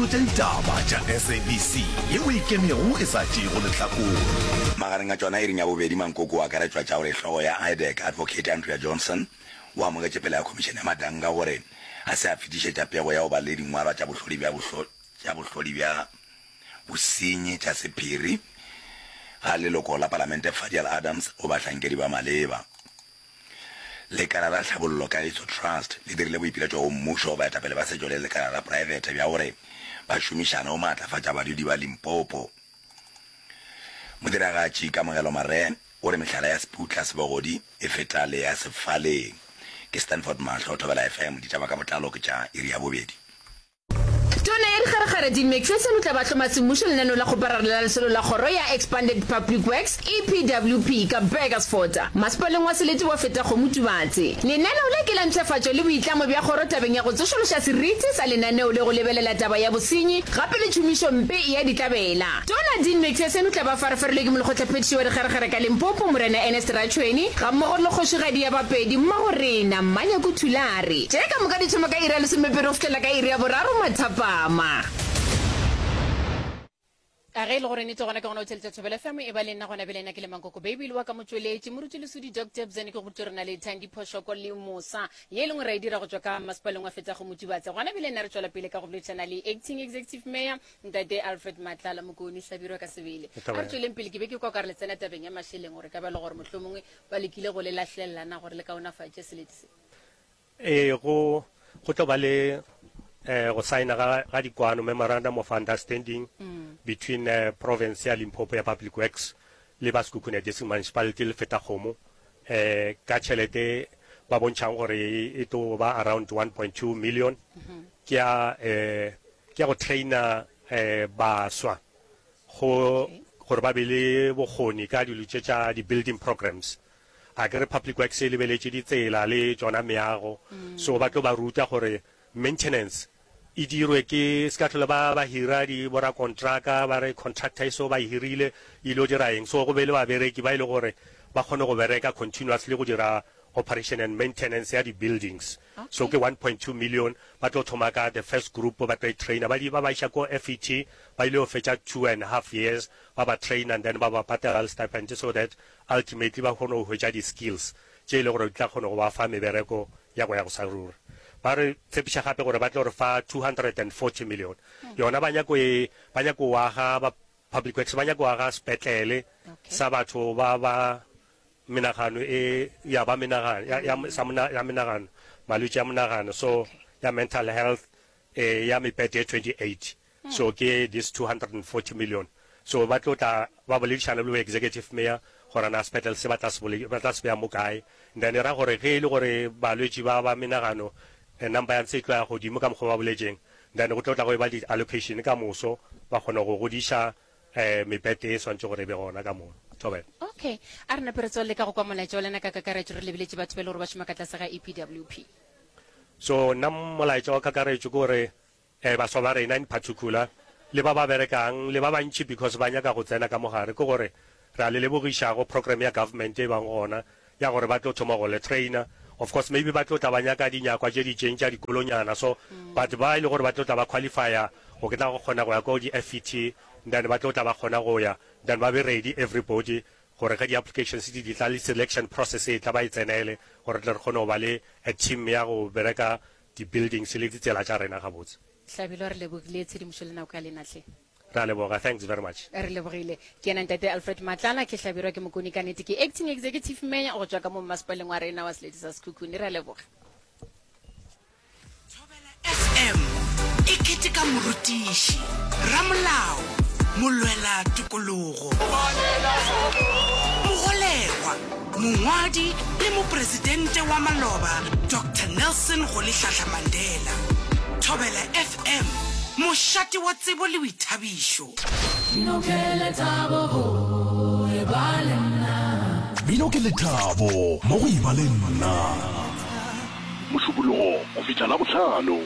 Dikgolo tša ditaba tša SABC yeo e ikemego e sa tšeego lehlakore. Magareng a tšona iring ya bobedi mankoko o akaretšwa tša gore hlogo ya IDAC Advocate Andrea Johnson o amogetše pele ga khomišene ya Madanga gore a se a fetišetša pego ya go ba le dingwalwa tša bohlodi bja tša bohlodi bja bosenyi tša sephiri ga leloko la palamente Fadial Adams go bahlankedi ba maleba. Lekala la Tlhabollo Kagiso Trust le dirile boipiletšo go mmušo, baetapele ba setšo le lekala la praebete bja gore ba šomišane go maatlafatša badudi ba Limpopo. Modiragatši Kamogelo Maree o re mehlala ya Seputla Sebogodi e feta le ya Sefaleng. Ke Stanford Mahlo, Thobela FM, ditaba ka botlalo ke tša iri ya bobedi. Tona ya Dikgarekgare Dean Macpherson o tla ba hloma semmušo lenaneo la kgoparara la lesolo la kgoro ya Expanded Public Works, EPWP, ka Burgersfort, masepaleng wa selete wa Fetakgomo Tubatse. Lenaneo le ke la mpshafatšo le boitlamo bja kgoro tabeng ya go tsošološa seriti sa lenaneo le go lebelela taba ya bosenyi gape le tšhomišompe ya ditlabela. Tona Dean Macpherson o tla ba farafarilwe ke Molekgotlaphethiši wa Dikgerekgere ka Limpopo, Morena Ernest Ratšhweni, gammogo le Kgošigadi ya Bapedi, Mmagorena, Mmanyaku Thulare. Tše ka moka di thoma ka iri ya lesomepedi go fihlela ka iri ya boraro mathapama. A ge e le gore nete gona ke gona o theletša Thobela FM e ba le nna gona bjale nna ke le Mankoko Baby le wa ka motšweletši Moruti Lesodi Doctor Bzene ke go botše re na le Thandi Phoshoko le Mosa ye e lengwe ra e dira go tšwa ka masepaleng wa Fetago Motubatse gona bjale nna re tšwela pele ka go boledišana le Acting Executive Mayor Ntate Alfred Matlala Mokone, Hlabirwa ka sebele. A re tšweleng pele, ke be ke kwa ka re le tsena tabeng ya mašeleng gore ka ba le gore mohlomongwe ba lekile go le lahlelela na gore le kaonafatše selete se. Ee, go, go tlo ba le eh, go saena ga, ga dikwano, memorandum of understanding between eh, province ya Limpopo ya Public Works le ba Sekhukhune District Municipality le Fetakgomo eh, ka tšhelete ba bontšhang gore e tlo ba around 1.2 million ke ya eh, Ke ya go trainer baswa go gore ba be le bokgoni ka dilo tše tša di building programs. A ke re Public Works e lebeletše ditsela le tšona meago, so ba tlo ba ruta gore maintenance e dirwe ke se ka hlole ba ba hira di borakontraka ba re contractor e so ba e hirile e ilo dira eng. So go be le babereki ba e le gore ba kgone go bereka continuously go dira operation and maintenance ya di buildings. So ke 1.2 million, ba tlo thoma ka the first group ba tlo e trainer, ba di ba ba iša ko FET, ba ile go fetša two and half years ba ba trainer and then ba ba patela le stipend so that ultimately ba kgone go hwetša di skills tše e le gore di tla kgona go ba fa mebereko ya go ya go sa ruri. Ba re tshepiša gape gore ba tlo re fa 240 million, yona ba nyako e ba nyako aga ba Public Works ba nyako aga sepetlele sa batho ba ba menagano e ya ba menagano ya, ya, sa mona, ya menagano malwetši a monagano so ya mental health eh, ya mepete e 28 so ke this 240 million so ba tlo tla ba boledišana le executive mayor gore na sepetlele se ba tla se ba tla se beya mo kae then e ra gore ge e le gore balwetši ba ba menagano eh, number ya ntse e tlo ya godimo ka mokgwa ba boletšeng then go tlo tla go e ba di-allocation ka moso ba kgona go godiša um mebete e swantše gore e be gona ka mono. Thobela. Okay, a re nape re tswelele ka go kwa molaetša wa lena ka kakaretšo re lebeletše batho ba e le gore ba šoma ka tlase ga EPWP. So nna molaetša wa kakaretšo ke gore um baswa ba rena in particular le ba ba berekang le ba bantši because ba nyaka go tsena ka mo gare ke gore re a le lebogiša go program ya government e bang gona ya gore ba tlo thoma go le trainer of course maybe ba tlo tla ba nyaka dinyakwa tše di itšeng tša dikolonyana so but ba e le gore ba tlo tla ba qualifya go ke tla go kgona go ya ko di FET then ba tlo tla ba kgona go ya then ba be ready everybody gore ge di applications di di tla le selection process e tla ba e tsenele gore tle re kgone go ba le a team ya go bereka di buildings le ditsela tša rena gabotse. Hlabirwa re lebogile tshedimošo le nako ya lena hle. Re a leboga, thanks very much. Re lebogile. Ke yena Ntate Alfred Matlala, ke Hlabirwa ke Mokone ka nete ke Acting Executive Mayor go tšwa ka mo mmasepaleng wa rena wa Selete sa Sekhukhune. Re a leboga. Thobela FM e keteka morutiši, ramolao, molwela tokologo, mogolegwa, mongwadi le mopresidente wa maloba Doctor Nelson Rolihlahla Mandela. Thobela FM, mošate wa tsebo le boithabišo. Mmino ke lethabo go eba le nna. Mmino ke lethabo mo go eba le nna. Mošupologo go fihla Labohlano.